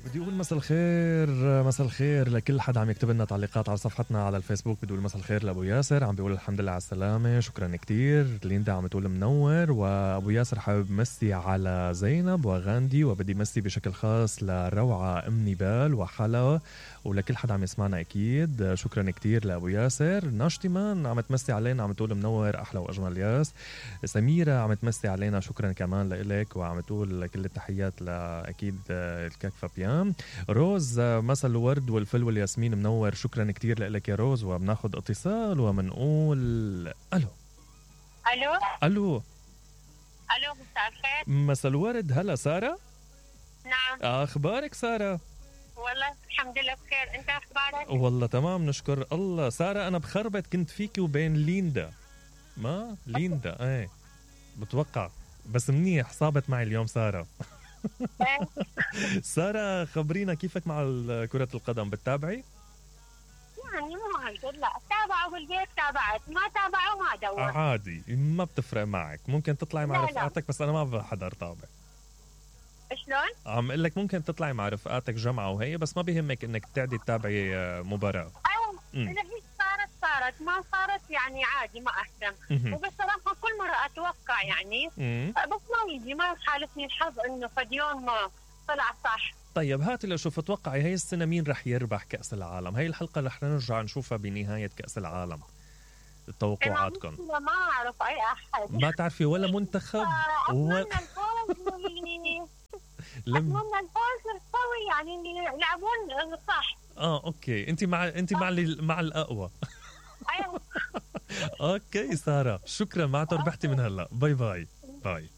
بدي اقول مساء الخير، مساء الخير لكل حد عم يكتب لنا تعليقات على صفحتنا على الفيسبوك. بدي اقول مساء الخير لابو ياسر، عم بيقول الحمد لله على السلامه، شكرا كتير. ليندا عم تقول منور، وابو ياسر حابب مسي على زينب وغاندي، وبدي مسي بشكل خاص لروعه ام نبال وحلا ولكل حد عم يسمعنا اكيد. شكرا كتير لابو ياسر. ناشتمان عم تمسي علينا، عم تقول منور احلى واجمل ياس. سميره عم تمسي علينا، شكرا كمان لك، وعم تقول كل التحيات لاكيد الكاك فابيان. روز مساء الورد والفل والياسمين منور، شكرا كتير لك يا روز. وبناخد اتصال ومنقول الو الو الو الو مساء الخير. مساء الورد. هلا ساره؟ نعم. اخبارك ساره؟ والله الحمد لله بخير، انت اخبارك؟ والله تمام نشكر الله. ساره انا بخربت كنت فيكي وبين ليندا، ما ليندا ايه بتوقع، بس منيح صابت معي اليوم ساره. ساره خبرينا كيفك مع كرة القدم، بتتابعي؟ يعني مو هالقد، لا تابعوا بالبيت تابعت، ما تابعوا ما دور. عادي ما بتفرق معك، ممكن تطلعي مع رفقاتك، بس انا ما بحضر طابع. شلون؟ عم اقول لك ممكن تطلعي مع رفقاتك جمعة وهي، بس ما بيهمك انك تعدي تتابعي مباراة. ايوه اذا هي صارت ما صارت يعني عادي ما اهتم. وبصراحة كل مرة اتوقع يعني بس ما يجي، ما يخالفني الحظ انه فد يوم ما طلع صح. طيب هاتي لشوف، اتوقعي هاي السنة مين رح يربح كأس العالم؟ هاي الحلقة رح نرجع نشوفها بنهاية كأس العالم. توقعاتكم؟ ما اعرف اي احد، ما تعرفي ولا منتخب؟ اتمنى الفوز اتمنى الفوز القوي يعني يلعبون صح. اوكي، انت مع الاقوى. ايوه. اوكي ساره، شكرا، معناته ربحتي من هلا. باي باي باي.